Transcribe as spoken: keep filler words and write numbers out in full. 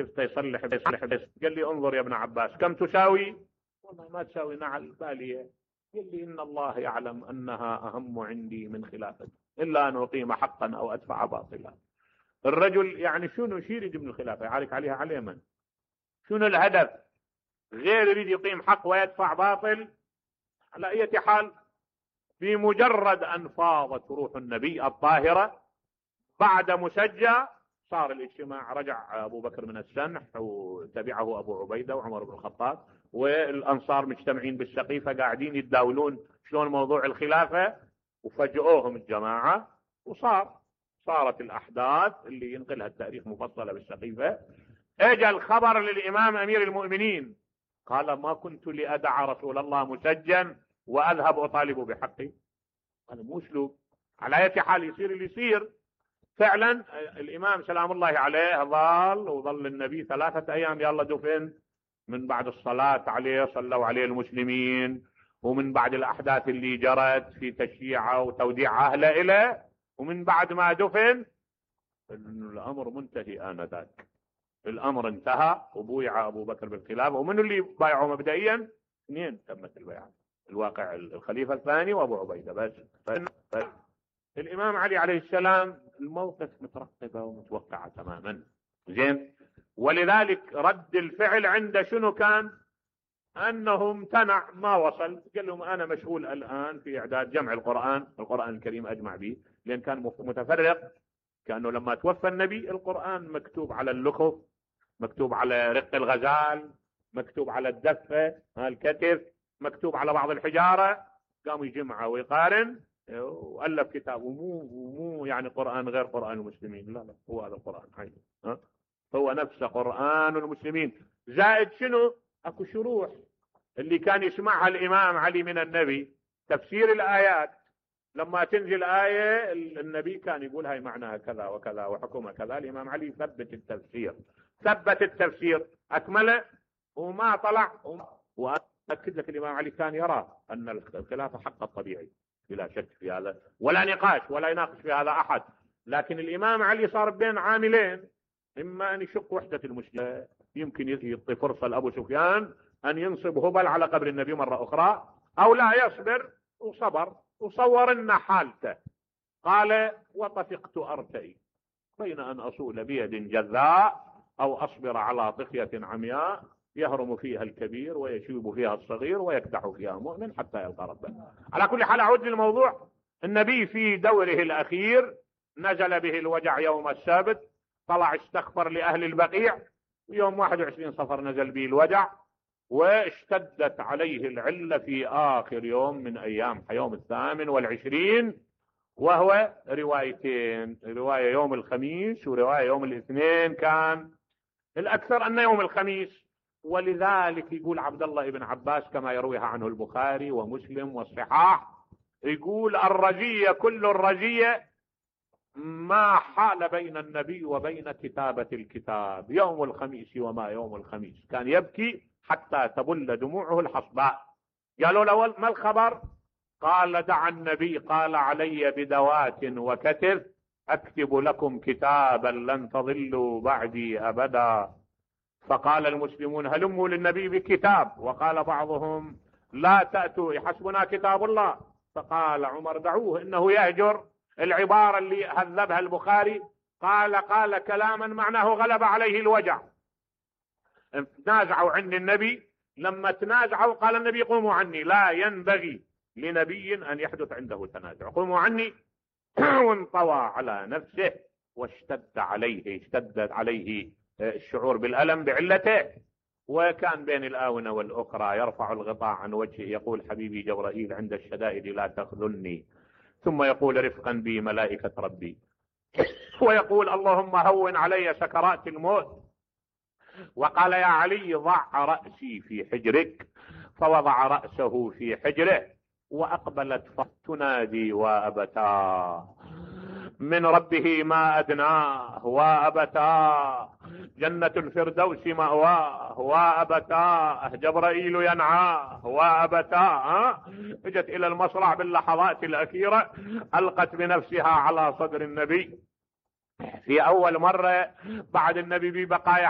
شفته يصلح يصلح بس. قال لي انظر يا ابن عباس كم تساوي؟ والله ما تساوي نعل بالية. قال لي ان الله يعلم انها اهم عندي من خلافتي الا ان اقيم حقا او ادفع باطلا. الرجل يعني شنو شو يريد من الخلافة؟ يعارك عليها على اليمن. شنو الهدف؟ غير يريد يقيم حق ويدفع باطل. على اي حال بمجرد ان فاضت روح النبي الطاهرة بعد مسجى صار الاجتماع. رجع ابو بكر من السنح وتبعه ابو عبيدة وعمر بن الخطاب والانصار مجتمعين بالسقيفة قاعدين يتداولون شلون موضوع الخلافة، وفجأوهم الجماعة وصار صارت الاحداث اللي ينقلها التاريخ مفصلة بالسقيفة. اجى الخبر للامام امير المؤمنين قال ما كنت لادع رسول الله مسجا واذهب اطالب بحقي. هذا مو اسلوب. على اي حال يصير اللي يصير. فعلا الامام سلام الله عليه ظل وظل النبي ثلاثة ايام يلا دفن. من بعد الصلاة عليه صلوا عليه المسلمين، ومن بعد الاحداث اللي جرت في تشييعه وتوديع اهله اليه، ومن بعد ما دفن الامر منتهي انذاك. الامر انتهى وبويع ابو بكر بالخلافه. ومن اللي بايعوا مبدئيا؟ اثنين تمت البيعه. الواقع الخليفه الثاني وابو عبيده بس. بس. الامام علي عليه السلام الموقف مترقبه ومتوقعه تماما. زين. ولذلك رد الفعل عنده شنو كان؟ انه امتنع ما وصل. قال لهم انا مشغول الان في اعداد جمع القران، القران الكريم اجمع به، لان كان متفرق. كانه لما توفى النبي القران مكتوب على اللخف، مكتوب على رق الغزال، مكتوب على الدفه الكتف، مكتوب على بعض الحجاره. قام يجمعه ويقارن والف كتاب. ومو مو يعني قران غير قران المسلمين، لا لا هو هذا القران عينه. ها هو نفسه قران المسلمين. زائد شنو؟ اكو شروح اللي كان يسمعها الامام علي من النبي. تفسير الايات لما تنزل آية النبي كان يقول هاي معناها كذا وكذا وحكمها كذا. الإمام علي ثبت التفسير، ثبت التفسير أكمله وما طلع. وأكد لك الإمام علي كان يرى أن الخلافة حق الطبيعي بلا شك في هذا، ولا نقاش ولا يناقش في هذا أحد. لكن الإمام علي صار بين عاملين: إما أن يشق وحدة المسلمين، يمكن يعطي فرصة لأبو سفيان أن ينصب هبل على قبر النبي مرة أخرى، أو لا يصبر. وصبر وصور لنا حالته. قال: وطفقت أرتئي بين أن أصول بيد جذاء أو أصبر على طفية عمياء يهرم فيها الكبير ويشيب فيها الصغير ويكدح فيها مؤمن حتى يلقى ربه. على كل حال أعود للموضوع. النبي في دوره الأخير نزل به الوجع يوم السبت، طلع استغفر لأهل البقيع. يوم واحد وعشرين صفر نزل به الوجع، واشتدت عليه العلة في آخر يوم من أيام يوم الثامن والعشرين، وهو روايتين: رواية يوم الخميس ورواية يوم الاثنين. كان الأكثر أن يوم الخميس. ولذلك يقول عبد الله بن عباس كما يرويها عنه البخاري ومسلم والصحاح، يقول: الرجية كل الرجية ما حال بين النبي وبين كتابة الكتاب يوم الخميس وما يوم الخميس. كان يبكي حتى تبل دموعه الحصباء. قالوا له: ما الخبر؟ قال: دعا النبي قال علي بدوات وكتف أكتب لكم كتابا لن تضلوا بعدي أبدا. فقال المسلمون: هلموا للنبي بكتاب. وقال بعضهم: لا تأتوا يحسبنا كتاب الله. فقال عمر: دعوه إنه يهجر. العبارة اللي هذبها البخاري قال قال كلاما معناه غلب عليه الوجع. تنازعوا عن النبي. لما تنازعوا قال النبي: قوموا عني. لا ينبغي لنبي أن يحدث عنده تنازع. قوموا عني. وانطوى على نفسه واشتد عليه اشتدت عليه الشعور بالألم بعلته. وكان بين الآونة والأخرى يرفع الغطاء عن وجهه يقول: حبيبي جبرائيل عند الشدائد لا تخذلني. ثم يقول: رفقا بي ملائكة ربي. ويقول: اللهم هون علي سكرات الموت. وقال: يا علي ضع رأسي في حجرك. فوضع رأسه في حجره وأقبلت تنادي: وأبتاه من ربه ما أدناه، وأبتاه جنة الفردوس مأواه، وأبتاه جبرائيل ينعاه، وأبتاه. اجت إلى المصرع باللحظات الأخيرة، ألقت بنفسها على صدر النبي في أول مرة بعد النبي ببقايا